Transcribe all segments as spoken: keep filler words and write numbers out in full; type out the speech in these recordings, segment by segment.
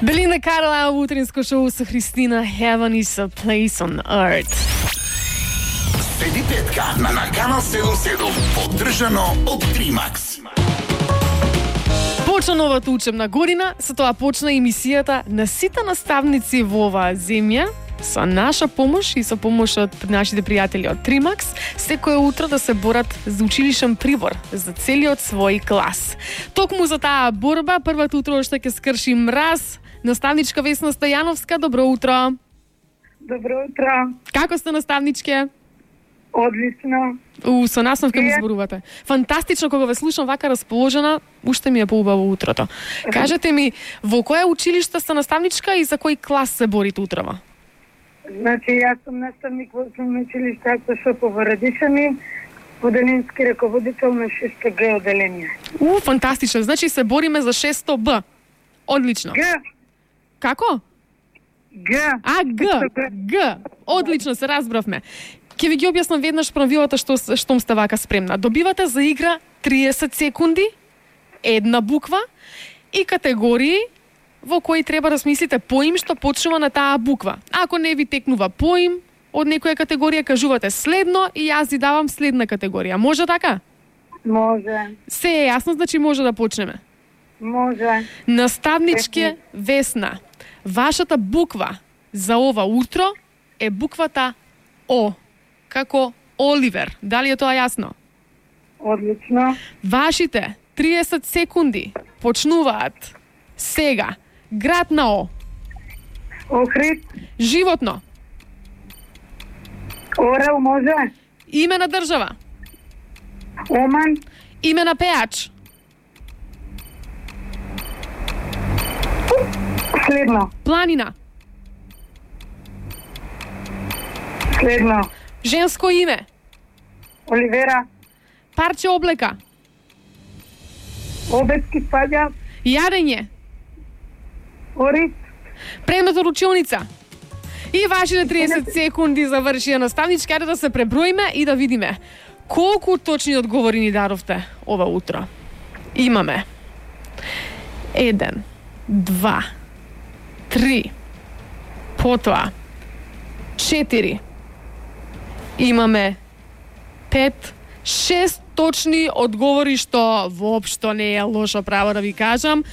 Белинда Карла во утринско шоу со Христина. Heaven is a place on earth. Седи петка на, на Канал седумдесет и седум, поддржано од Тримакс. Почна новата учебна година, со тоа почна емисијата на сите наставници во оваа земја, со наша помош и со помош од нашите пријатели од Тримакс, секое утро да се борат за училишен прибор за целиот свој клас. Токму за таа борба, првото утро што ќе скрши мраз, наставничка Весна Стојановска, добро утро. Добро утро. Како сте, наставничке? Одлично. У, со насмевка ми зборувате. Фантастично, кога ве слушам вака расположена, уште ми е поубаво утрото. Кажете ми, во кое училиште сте наставничка и за кој клас се борите утрово? Значи, јас сум наставник во основно училиште Аксошопо во Радишани, поделенски раководител на шесто Г оделение. У, фантастично. Значи се бориме за шесто Б. Одлично. Г. Како? Г. А, Г. Г. Одлично, се разбравме. Ќе ви ги објаснам веднаш правилата што штом сте вака спремна. Добивате за игра триесет секунди, една буква и категории во кои треба да смислите поим што почнува на таа буква. Ако не ви текнува поим од некоја категорија, кажувате следно и јас ви давам следна категорија. Може така? Може. Се е јасно, значи може да почнеме. Може. Наставничке Весна, вашата буква за ова утро е буквата О, како Оливер. Дали е тоа јасно? Одлично. Вашите триесет секунди почнуваат сега. Град на О. Охрид. Животно. Орел може. Име на држава. Оман. Име на пеач. Следно. Планина. Следно. Женско име. Оливера. Парче облека. Обетски спаѓа. Јадење. Орис. Предмет од училница. И вашите триесет секунди завршија, наставничка, да се преброиме и да видиме колку точни одговори ни даровте ова утро. Имаме еден, два, три, потоа четири, имаме пет, шест точни одговори, што воопшто не е лошо, право да ви кажам.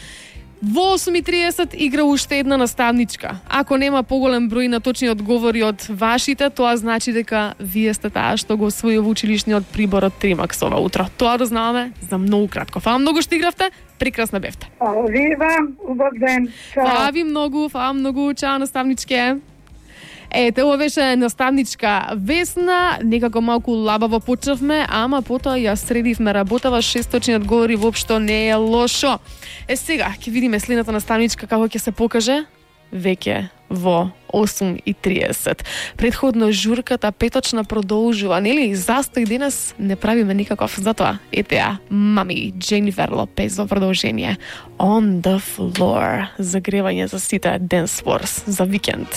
Во осум и триесет игра уште една наставничка. Ако нема поголем број на точни одговори од вашите, тоа значи дека вие сте таа што го освои училишниот прибор од Тримакс ова утро. Тоа да знаваме за многу кратко. Фала многу што игравте, прекрасна бевте. Фала ви вам, убав ден. Чао. Фала ви многу, фала многу, чао наставничке. Ете, ова беше наставничка Весна, некако малку лабаво почнавме, ама потоа ја средивме работава, шестстотини одговори воопшто не е лошо. Е, сега, ќе видиме следната наставничка како ќе се покаже веќе во осум и триесет. Предходно журката петочна продолжува, нели? Застој денес не правиме никаков, затоа ете ја, мами, Дженифер Лопез во продолжение. On the floor. Загревање за сите Dance Wars за викенд.